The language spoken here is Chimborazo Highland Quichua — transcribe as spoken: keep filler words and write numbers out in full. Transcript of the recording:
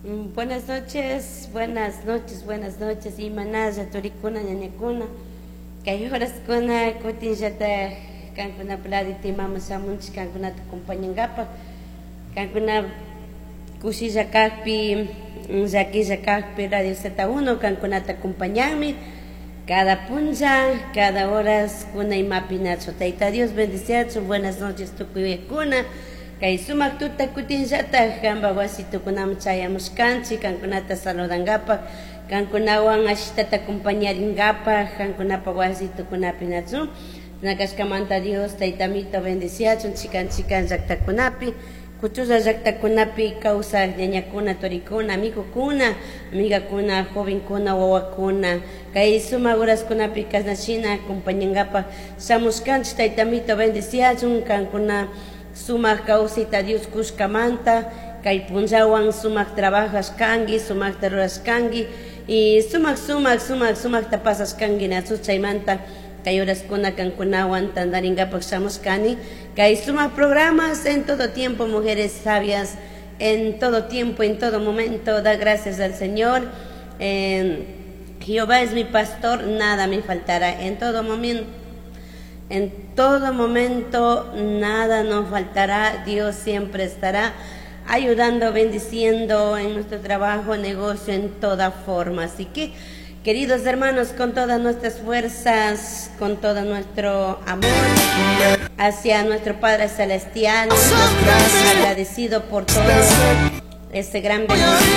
Mm, Buenas noches, buenas noches, buenas noches. Imanalla turikuna ñañakuna. Kay horaskuna kutinllata kankuna pladita imaman shamunchik kankunata acompañankapaq. Kankuna kushilla kakpi, llakilla kakpi Radio Z uno kankunata acompañanmi. Cada puncha, cada horas kuna imapi nachu. Tayta Dios bendiciachun. Buenas noches tukuykuna. Kay sumak tuta kutinllata kanpa wasitukunaman chayamushkanchik kankunata saludankapaq, kankunawan ashitata acompañarinkapaq kankunapa wasitukunapi nachu. Nakashkamanta Dios Taytamito bendiciachun chikan chikan llaktakunapi, kuchulla llaktakunapi kawsaq ñañakuna, turikuna, amigokuna, amigakuna, jovenkuna, wawakuna. Kay sumak horaskunapi kashnashina acompañankapaq shamushkanchik. Taytamito bendiciachun kankuna sumak kawsayta Dios kushkamanta kay punllawan sumak trabajashkanki, sumakta rurashkanki y sumak sumak sumak sumakta pasashkanki nachu. Chaymanta kay horaskuna kankunawan tantarinkapaq shamushkani kay sumak programas En Todo Tiempo, Mujeres Sabias. En todo tiempo, en todo momento, da gracias al Señor. Eh, Jehová es mi pastor, nada me faltará. En todo momento, en todo momento, nada nos faltará. Dios siempre estará ayudando, bendiciendo en nuestro trabajo, negocio, en toda forma. Así que, queridos hermanos, con todas nuestras fuerzas, con todo nuestro amor hacia nuestro Padre Celestial, agradecido por todo este gran bendición.